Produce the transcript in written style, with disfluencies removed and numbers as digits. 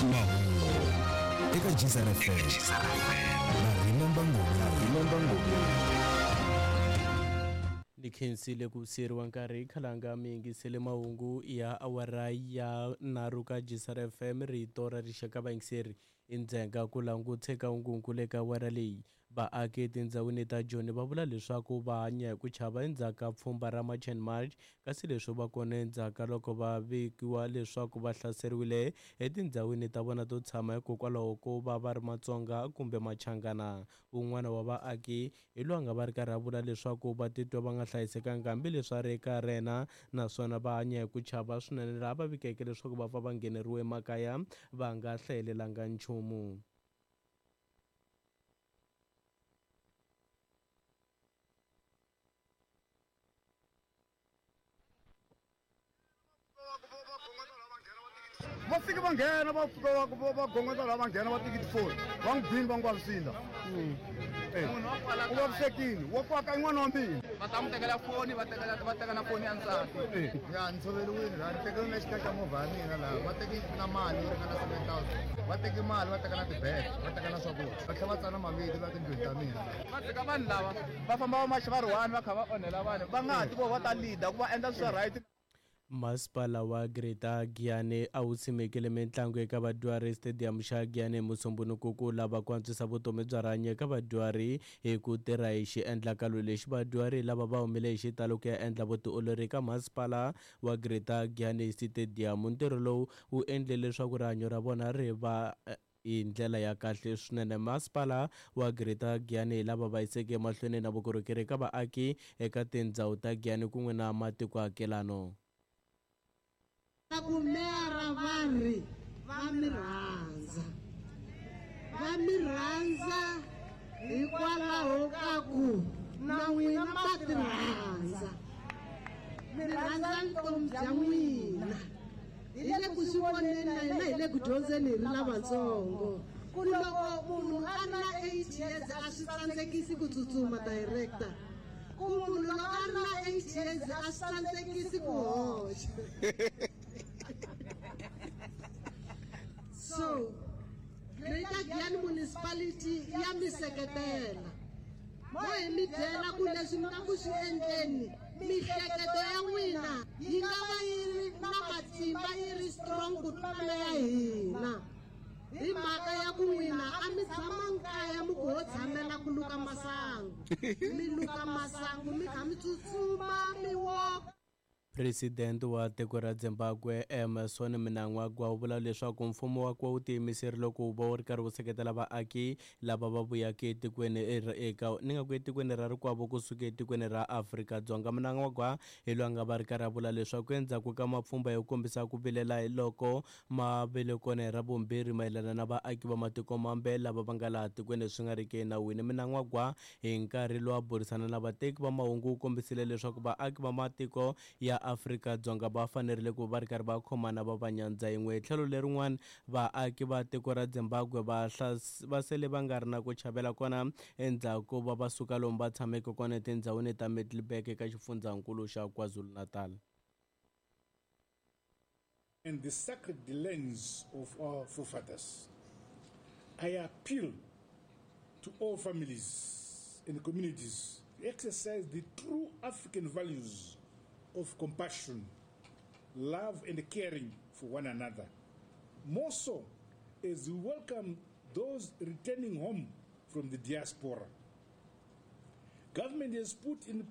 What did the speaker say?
Mahungu eka Gzar FM na Remember Ngomeni. Ni khensile ku siyeriwa nkarhi khalanga mi yingisele mahungu ya awara ya nharhu ka Gzar FM rito ra rixaka vayingiseri i ndzhenga ku languteka nkunku le ka awara leyi Vaaki etindhawini ta Joni va vula leswaku va hanya hi ku chava endzhaku ka pfhumba ra March and March, kasi leswi va kona endzhaku ka loko va vikiwa leswaku va hlaseriwile etindhawini ta vona to tshama hikokwalaho ko va va ri Matsonga kumbe Machangana. Un'wana wa vaaki hi loyi a nga va ri karhi a vula leswaku va titwa va nga hlayisekanga hambileswi a ri eka rena naswona va hanya hi ku chava swinene laha va vikeke leswaku va pfa va ngheneriwe emakaya va nga hlayelelanga nchumu. Va fike va nghena va fika va va gongondza laha va nghena va teki tifoni va n'wi bini va n'wi vavisile u vavisekile wa kwaka i n'wana wa mina va ta n'wi tekela foni va tekela va teka na foni ya nsati ya ni tshoveriwile laha ni tekeriwe na xikaya xa movha ya mina laha va teki na mali yo ringana 7000 va teki mali va teka na tibege va teka na swakudya va tlhela va tsala mavito la tindlwini ta mina va tshika vanhu lava va famba va maxa va ri one va kha va onhela vanhu va nga ha ti vo va ta leader ku va endla swa right. Masipala wa Greater Giyani a wu simekile mintlangu eka vadyuhari Stadium xa Giyani hi Musumbhunuku ku lava ku antswisa vutomi bya rihanyo eka vadyuhari hi ku tirha hi xiendlakalo lexi. Vadyuhari lava va humile hi xitalo ku ya endla vutiolori eka masipala wa Greater Giyani Stadium. Ntirho lowu wu endle leswaku rihanyo ra vona ri va hi ndlela ya kahle swinene. Masipala wa Greater Giyani hi lava va yiseke emahlweni na vukorhokeri eka vaaki eka tindzhawu ta Giyani kun'we na matikoakelano. Ku meyara va ri va mi rhandza. Va mi rhandza hikwalaho ka ku na n'wina ma ti rhandza. Mi rhandza vutomi bya n'wina. Hi le ku swi voneni na hina hi le ku dyondzeni hi ri lavatsongo. Ku loko munhu a ri na 8 years a swi tsandzekisi ku tsutsuma director. Ku munhu loko a ri na 8 years a swi tsandzekisi ku hoxa. So Greater Giyani Municipality ya mi seketela. Mo hi mi byela ku leswi mi nga ku swi endleni mihleketo ya n'wina yi nga va yi ri na matimba yi ri strong ku tlula ya hina hi mhaka ya ku n'wina a mi tshamangi kaya mi ku ho tshamela ku luka masangu mi luka masangu mi kha mi tsutsuma mi woka. Presidente wa tiko ra Zimbabwe Emmerson Mnangagwa u vula leswaku mfumo wakwe wu tiyimiserile ku va wu ri karhi wu seketela vaaki lava va vuyaka etikweni eka ni nga ku etikweni ra rikwavo kusuka etikweni ra Afrika-Dzonga. Mnangagwa hi loyi a nga va ri karhi a vula leswaku endzhaku ka mapfhumba yo kombisa ku vilela hi loko ma vile kona hi Ravumbirhi mayelana na vaaki va matiko mambe lava va nga laha tikweni swi nga riki enawini. Mnangagwa hi nkarhi lowu a burisana na vateki va mahungu u kombisile leswaku vaaki va matiko ya Afrika-Dzonga va fanerile ku va ri karhi va khomana va va nyandza yin'we. Hi tlhelo lerin'wana, vaaki va tiko ra Zimbabwe va va sele va nga ri na ku chavela kona endzhaku ko va va suka lomu va tshameke kona etindhawini ta Middelburg eka xifundzankulu xa KwaZulu-Natal. And the sacred lands of our forefathers. I appeal to all families and communities to exercise the true African values of compassion, love and caring for one another. More so as we welcome those returning home from the diaspora. Government has put in